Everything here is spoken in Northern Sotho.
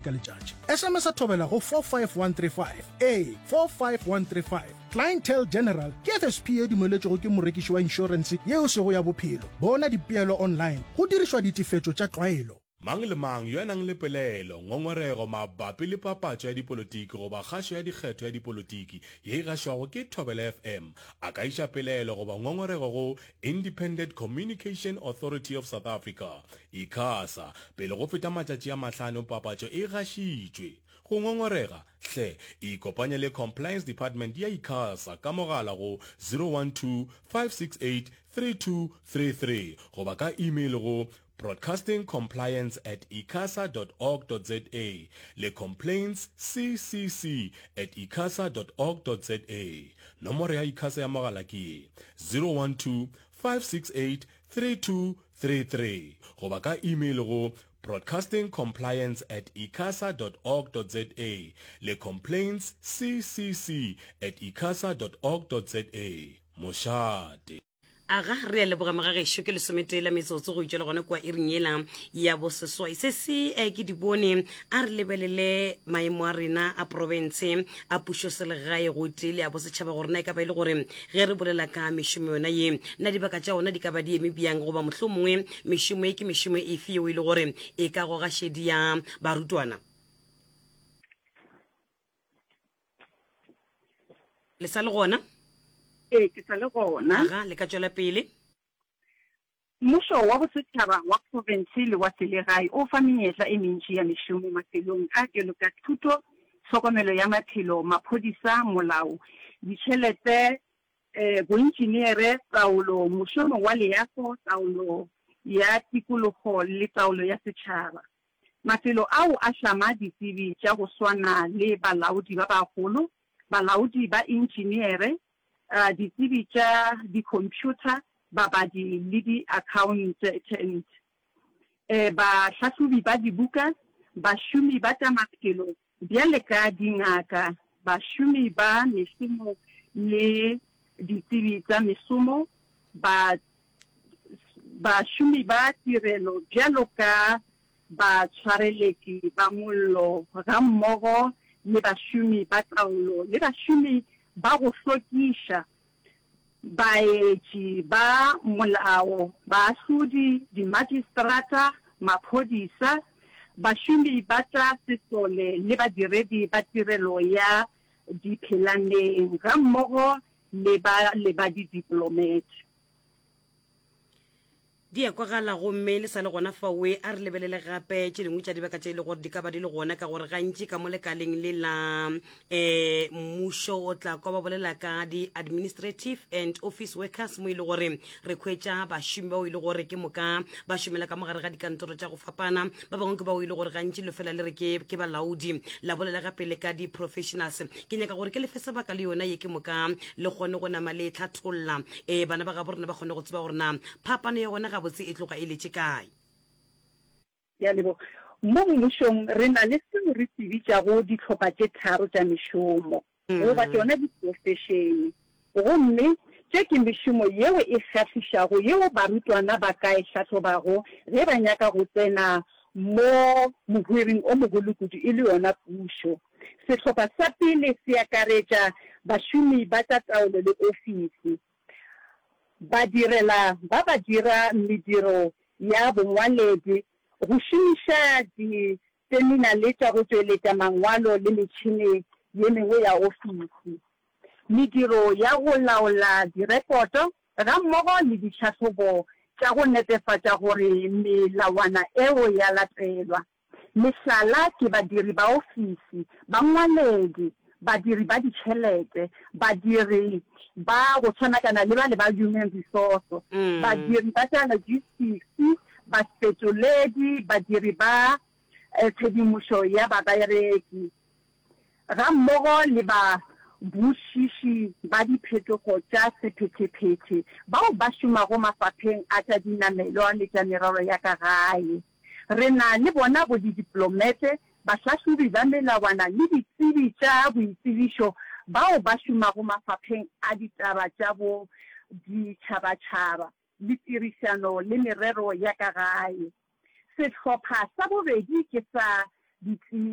ka letšatši. SMS-a Thobela go 45135. Ee, 45135. Clientele General ke FSP ye dumeletšwego ke morekiši wa inšorense yeo e sego ya bophelo. Bona dipeelo online go dirišwa ditefetšo tša tlwaelo. Mang le mang yo a nang le pelaelo, ngongorego mabapi le papatšo ya dipolotiki goba kgašo ya dikgetho ya dipolotiki ye e gašwago ke Thobela FM a ka iša pelaelo goba ngongorego go Independent Communication Authority of South Africa, ICASA, pele go feta matšatši a mahlano papatšo e gašitšwe. Go ngongorega, hle ikopanye le Compliance Department ya ICASA ka mogala go 012 568 3233 goba ka email go broadcastingcompliance at icasa dot org dot za le complaints ccc at icasa dot org dot za. Nomoro ya ICASA ya mogala ke ye, 012 568 3233 goba ka email go broadcastingcompliance at icasa dot org dot za le complaints ccc at icasa dot org dot za. Mošate. Aga, re a leboga mogagešo, ke lesometee la metsotso go itšwela gona kua iring yela ya boseswai. Se se eh, ke di bone, a re lebelele maemo a rena a profense a pušoselegae gotee le a bosetšhaba gore na e ka ba e le gore ge re bolela ka mešomo yona ye, na dibaka tša ona di ka ba di eme bjang goba mohlomongwe mešomo ye ke mešomo efe yeo e le gore e ka goga šedi ya barutwana. Le sa le gona? Ee, ke sa le gona. Aga, le ka tšwela pele. Mmušo wa bosetšhaba, wa profense le wa selegae o fa menyetla e mentši ya mešomo mafelong a bjalo ka thuto, tlhokomelo ya maphelo, maphodisa, molao, ditšhelete, boentšineere, taolo, mošomo wa leago, taolo ya tikologo le taolo ya setšhaba. Mafelo ao a hlama ditsebi tša go swana le balaodi ba bagolo, balaodi ba intšineere, ditsebi tša dikhomphyutha, babadi le diakhaontent, bahlahlobi ba dibuka, bašomi ba tša maphelo bjale ka dingaka, bašomi ba mešomo le ditsebi tša mešomo, bašomi ba tirelo bjalo ka batshwareletši ba mollo gammogo le bašomi ba taolo le bašomi ba go hlwekiša, baetši ba molao, baahlodi, dimajistrata, maphodisa, bašomi ba tša sesole le badiredi ba tirelo ya diphelaneng gammogo le ba le ba didiplomate. Di a kwagala gomme le sa le gona faoe. A re lebelele gape tše dingwe tša dibaka tše e le gore di ka ba di le gona, ka gore gantši ka mo lekaleng le la um mmušo o tla kwa ba bolela ka di-administrative and office workers, mo e le gore re khwetša bašomi bao e le gore ke moka ba šomela ka mogare ga dikantoro tša go fapana. Ba bangwe ke bao e le gore gantši lo fela le re ke, ke balaodi. La bolela gape le ka di-professionals. Ke nyaka gore ke lefe sebaka le yona ye ke moka le kgone go nama le hlatholla um bana ba gabo rena ba kgone go tseba gore na Phapano ya gona gabotse e tloga e letše kae? Ke a leboga. Mo mmušong re na le seo re se bitšago dihlopha tše tharo tša mešomo, goba tšona diprofešene. Gomme tše ke mešomo yeo e kgahlišago yeo barutwana ba ka e hlahlobago ge ba nyaka go tsena mo mohwiring o mogolo kudu e le yona pušo. Sehlopha sa pele se akaretša bašomi ba tša taolo le ofisi. Badirela ba ba dira mediro ya bongwaledi, go šomiša diteminale tša go tšweletša mangwalo le metšhene ye mengwe ya ofisi, mediro ya go laola direkoto gammogo le ditlhahlobo tša go netefatša gore melawana eo ya latelwa. Mehlala ke badiri ba ofisi, bangwaledi, badiri ba ditšhelete, badiri ba go tshwanakana le bale ba human resource, badiri ba tša logistics, bafetoledi, badiri ba tshedimošo ya babereki, gammogo le babušiši ba diphetogo tša sephethephethe bao ba šomago mafapheng a tša dinamelwa le tša merero ya ka gae. Re na le bona bo didiplomete, bahlahlobi ba melawana le ditsebi tša boitsebišo bao ba šomago mafapheng a ditaba tša boditšhabatšhaba le tirišano le merero ya ka gae. Sehlopha sa bobedi ke sa ditsebi.